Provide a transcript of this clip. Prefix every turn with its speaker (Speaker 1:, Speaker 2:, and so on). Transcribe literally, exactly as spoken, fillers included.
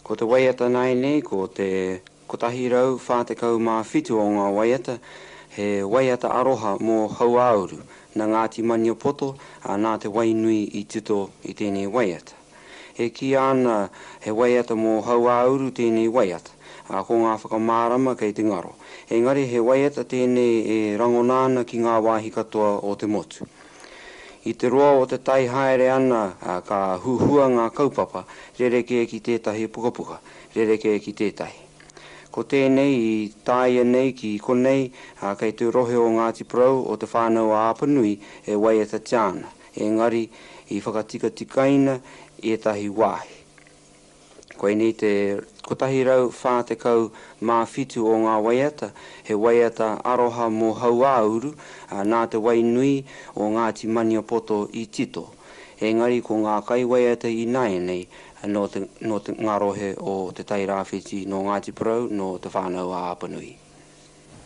Speaker 1: Ko te waiata nāianei ko te kotahi rau whā tekau mā whitu o ngā waiata, he waiata aroha mō Hauāuru, nā Ngāti Maniapoto, ā, nā Te Wainui i tito i tēnei waiata. E kīia ana he waiata mō Hauāuru tēnei waiata, ā, ko ngā whakamārama kei te ngaro. Engari he waiata tēnei e rangona ana ki ngā wāhi katoa o te motu. I te roa o te tai haere ana, ā, ka huhua ngā kaupapa, rerekē ki tētahi pukapuka, rerekē ki tētahi. Ko tēnei i tāia nei ki konei, ā, kei te rohe o Ngāti Porou o Te Whānau a Apanui e waiatatia ana, engari i whakatikatikaina ētahi wāhi. Koinei te kotahi rau whā tekau mā whitu o ngā waiata, he waiata aroha mō Hauāuru, ā, nā Te Wainui o Ngāti Maniapoto i tito. Engari ko ngā kaiwaiata ināianei nō te, nō te, ngā rohe o Te Tairāwhiti, nō Ngāti Porou, nō Te Whānau a Apanui.